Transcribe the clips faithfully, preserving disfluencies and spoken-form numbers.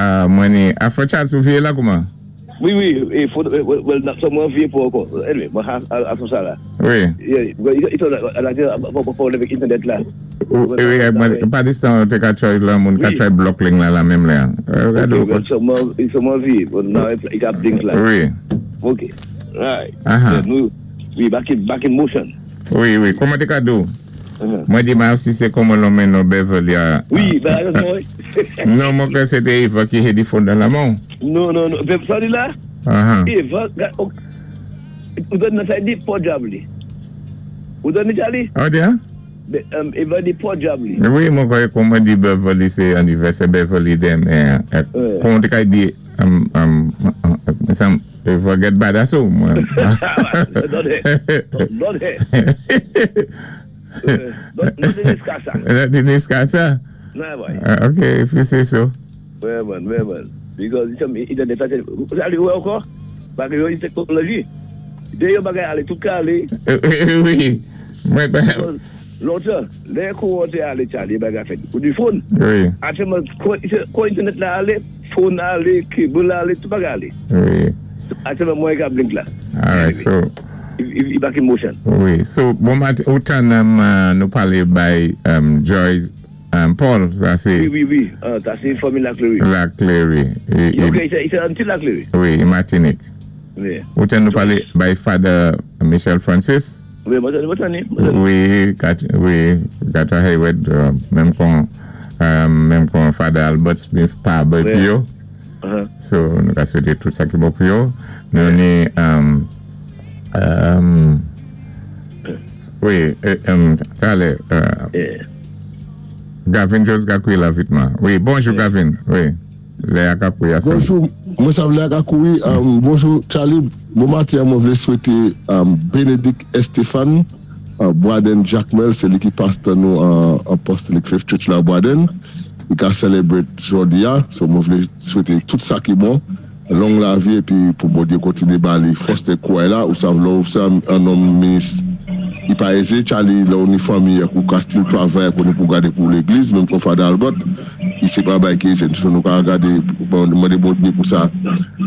Ah, mwen ni, a Charles, ou vié la kouman? Wi, wi, é fò, well, so mwen vié pou ankò. Anyway, mwen a, a tout sa la. Wi. Yeah, i to la, la, avèk internet la. Wi, mwen, pa distan te ka try la, moun ka try block link la la menm la. Ok, so mwen, so mwen vié, bon, now i ka blink la. Wi. Ok, right. Aha. Nou, wi, back in, back in motion. Wi, wi, kouman té ka dou? Uh-huh. Mwen di ma si sé kouman lonmen nou Beverly a. Wi, ben, mwen. Non, mwen kwè sé té Eva ki hé di phone dan la moun. Non, non, non, sa di la? Aha. Eva, ou don nan sa di pòdyab li. Ou don ni Charlie? Oh, di an? Eva di pòdyab li. Wi, mwen kwè kouman di Beverly sé anivèsè Beverly denmen. Kouman té ka di, um, um, um, Eva get bad aso, mwen. Don he. Don he. Don discuss sa. Don discuss sa? Nan, boy. Ok, if you say so. Wè man, wè man. Because internet sa, sa li wè ankò? Bagay yo teknoloji. Dé yo bagay alé, tout ka alé. Wi. Mwen pa. Lontan, lè kouwan té alé Charlie, bagay fèt. Ou di phone? Wi. Aktyèlman, kou internet la alé, phone alé, cable alé, tout bagay alé. Wi. Aktyèlman, mwen ka blink la. Alright, so. I back in motion. Wi. So, bon maten, otan nou palé bay Joyce Paul, sa sé. Wi, wi, wi. Sa sé fanmi Laclery. Laclery. Ok, i sé anti Laclery. Wi, Martinique. Wi. Otan nou palé bay Father Michel Francis. Wi, mwen tani. Wi, wi, Gata Hayward, menm kon, menm kon Father Albert Smith pa bay pi yo. So, nou ka swété tout sa ki bon pou yo. Nou ni, um, wi, talè, Gavin Jones ka koui la vitman. Wi, bonjou Gavin, wi. Lè a ka koui asan. Bonjou, mwen sa lè a ka koui. Bonjou Charlie, bon maten, mwen vlé swété Benedict Estefan, Boaden Jacmel, sé li ki pastè nou Apostolic Faith Church la Boaden. I ka celebrate jodi a, so mwen vlé swété tout sa ki bon, long lavi, epi pou Bondyé kontiné ba li fòs é kouray la, ou sav lò ou sé an nonm minis, i pa ézé, Charlie, lò ou ni fanmi, ou ka still travay pou nou pou gadé pou légliz, menm kon Father Albert, i sé pa bay ki ézé, so nou ka gadé, mwen de Bondyé pou sa,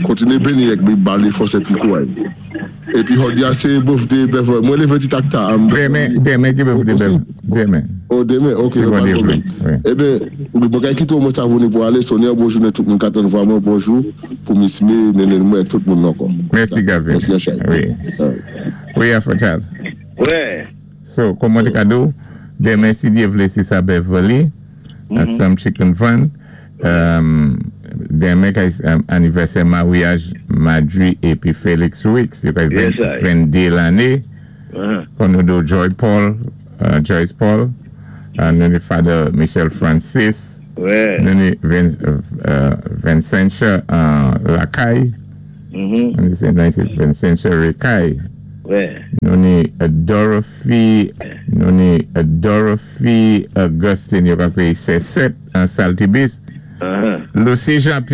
kontiné béni ek, ba li fòs epi kouray. Epi jodi a sé birthday Beverly, mwen lévé ti tak ta. Denmen, denmen ki birthday Beverly, denmen. Oh, denmen, ok, pa pwoblèm. Ében, mwen kay kito mwen sa vouni pou alé, Sonia, bonjou né tout moun katan vwa mwen, bonjou, pou Miss May, nenen mwen, tout moun ankò. Mèsi Gavin. Mèsi Achay. Wi. Wi, Afro Charles. Wè. So, kouman té ka dou, denmen si Dyé vlé si sa Beverly, Some Chicken Fun, denmen kay anivèsè maryaj Madri epi Felix Wicks, yo kay venndé lanné, kon nou do Joy Paul, Joyce Paul, nou ni Father Michel Francis, nou ni Vincentia Lakay, nou ni Vincentia Rekay, nou ni Dorothy, nou ni Dorothy Augustine, yo ka kwe se sèt an Saltibus, Lucy Jean-Pierre.